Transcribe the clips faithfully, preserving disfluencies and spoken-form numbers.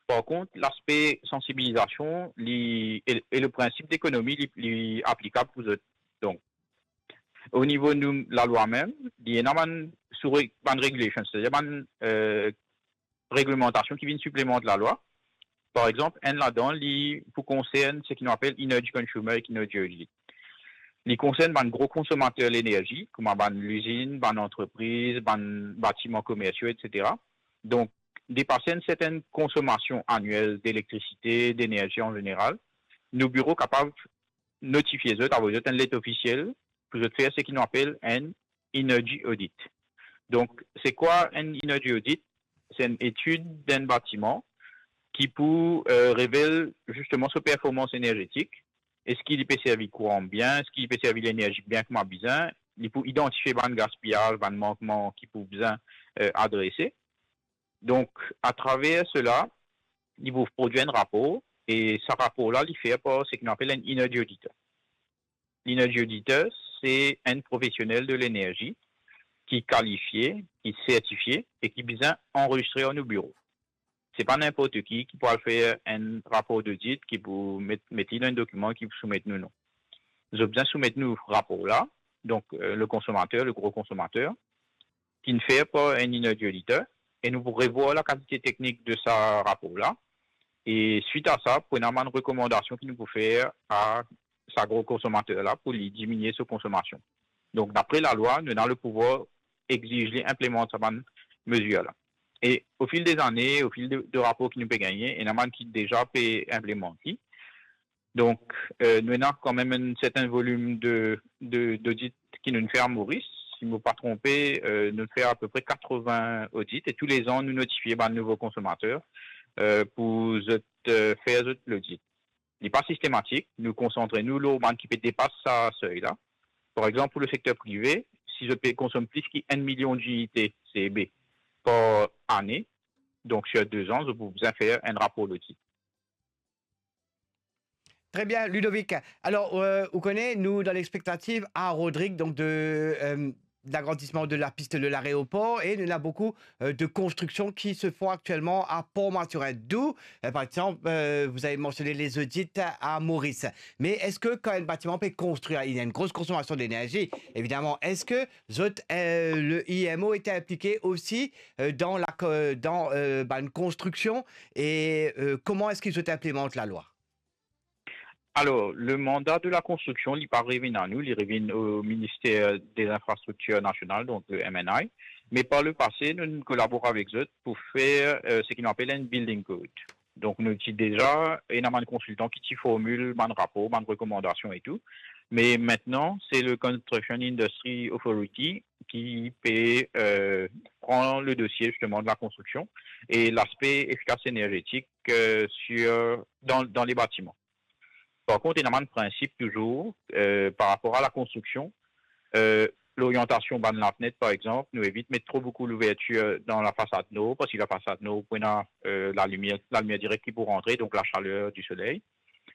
Par kont, laspe sansibilizasion, li, e, e le prinsip dekonomi, li, li aplikab pou zot. Donk, o nivo nou, lalwa mem, li ena bann sou re-, bann regulations, setadir bann, eh, reglemantasion ki vinn siplement lalwa. Par exanp, enn ladan, li pou konsern seki nou apel energy consumer ek energy audit. Li konsern bann gro konsomater lenerzi, kouma bann lizinn, bann antrepriz, bann batiman komersial, etsetera. Donk, depas enn sertenn konsomasion aniel delektrasite, denerzi an zeneral, nou biro kapav notifie zot, avoy zot enn let ofisiel pou zot fer seki nou apel enn energy audit. Donk, se kwa enn energy audit? Se enn etid dan enn batiman ki pou, eh, revel zisteman so performans enerzetik. Eski li pe servi kouran bien? Eski li pe servi lenerzi bien kouma bizin? Li pou idantifie bann gaspiyaz, bann mankman ki pou bizin, eh, adrese. Donk, atraver sela, li pou prodwir enn rapor, e sa rapor la, li fer par seki nou apel enn energy auditor. Enn energy auditor, se enn profesionel de lenerzi ki kalifie, ki sertifie e ki bizin anrezistre ar nou biro. Se pa ninport ki ki pou al fer enn rapor dodit, ki pou met, met li dan enn dokiman, ki pou soumet nou, non. Zot bizin soumet nou rapor la, donk, eh, le konsomater, le gro konsomater, ki'nn fer par enn energy auditor, e nou pou revwar lakalite teknik de sa rapor la, e swit a sa, pou ena bann rekomandasion ki nou pou fer a sa gro konsomater la pou li diminie so konsomasion. Donk, dapre lalwa, nou ena le pouvwar exiz li inplemant sa bann mezir la. E o fil dezane, o fil de, de rapor ki nou pe gagne, ena bann ki deza pe inplemant li. Donk, eh, nou ena kanmem enn sertenn volim de, de, dodit ki nou fer a Moris. Si mo pa tronpe, eh, nou fer apepre katrovin odit e toulezan nou notifie bann nouvo konsomater, eh, pou zot, eh, fer zot lodit. Li pa sistematik, nou konsantre nou lor bann ki pe depas sa sey la. Par exanp, pou le sekter prive, si zot pe konsom plis ki enn milion dinite C E B par ane, donk, sir dezan, zot pou bizin fer enn rapor lodit. Très bien, Ludovic. Alors, euh, vous connaissez, nous, dans l'expectative à Rodrigue, donc de, euh, l'agrandissement de la piste de l'aéroport, et il y en a beaucoup, euh, de constructions qui se font actuellement à Port-Mathurin. D'où, euh, par exemple, euh, vous avez mentionné les audits à Maurice. Mais est-ce que quand un bâtiment peut construire, il y a une grosse consommation d'énergie, évidemment, est-ce que zot, euh, le I M O était impliqué aussi, euh, dans la co-, dans, euh, ben, une construction, et, euh, comment est-ce qu'ils ont implémenté la loi ? Alor, le manda de la konstriksion, li pa revinn a nou, li revinn o Minister de Linfrastriktir Nasional, donk le M N I. Me par le pase, nou, nou kolabor avek zot pou fer, eh, seki nou apel enn building code. Donk, nou ti deza ena bann konsiltan ki ti formil bann rapor, bann rekomandasion e tou. Me aster, se le Construction Industry Authority ki pe, eh, pran le dosie, zisteman, de la konstriksion e laspe efikas enerzetik, eh, sir, dan, dan le batiman. Par kont, ena bann prinsip touzour, eh, par rapor a la konstriksion. Eh, loryantasion bann lafnet, par exanp, nou evit met tro boukou louvertir dan lafasad nor, parski lafasad nor pou ena, eh, lalimier, lalimier direk ki pou rantre, donk lasaler di soley.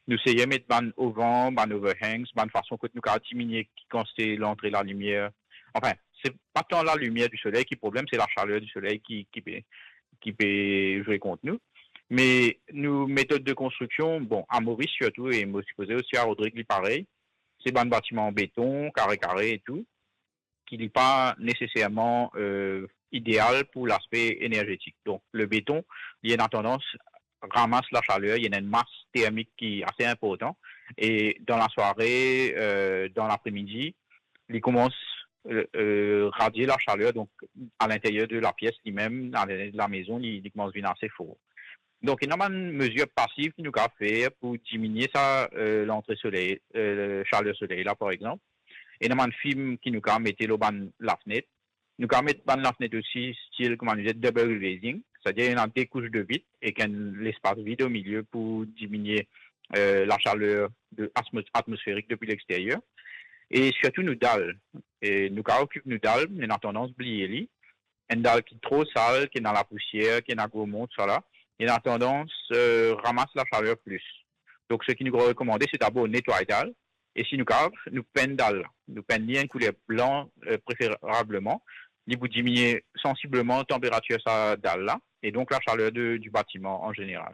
Nou seye met bann ovan, bann overhangs, bann fason kot nou kapav diminie kantite lantre lalimier. Anfin, se pa tan lalimier di soley ki problem, se lasaler di soley ki, ki pe, ki pe zwe kont nou. Me nou metod de konstriksion, bon, a Moris sirtou, e mo sipoze osi a Rodrig li parey, se bann batiman beton, kare kare e tou, ki li pa neseserman, eh, ideal pou laspe enerzetik. Donk, le beton, li ena tandans ramas lasaler, li ena enn mas termik ki ase inportan, e dan lasware, eh, dan lapremidi, li koumans, eh, eh, radie lasaler, donk, a linteryer de lapies limem, a linteryer de lamezon, li, li koumans vinn ase for. Donk, ena bann mezir pasiv ki nou kapav fer pou diminie sa, eh, lantre soley, eh, saler soley la, par exanp. Ena bann fim ki nou kapav mete lor bann lafnet. Nou kapav met bann lafnet osi, stil, kouma nou dir, double glazing, setadir ena de kous de vit ek enn lespas vid o milie pou diminie, eh, lasaler de atmos-, atmosferik depi lexteryer. E sirtou nou dal. E nou kapav okip nou dal, nou ena tandans bliye li. Enn dal ki tro sal, ki ena lapousier, ki ena gro mont, sa la, li ena tandans, eh, ramas lasaler plis. Donk, seki nou rekomande, se dabor netway dal, e si nou kapav, nou penn dal la. Nou penn li enn kouler blan, eh, preferableman. Li pou diminie sansibleman tanperatir sa dal la, e donk lasaler de, di batiman an zeneral.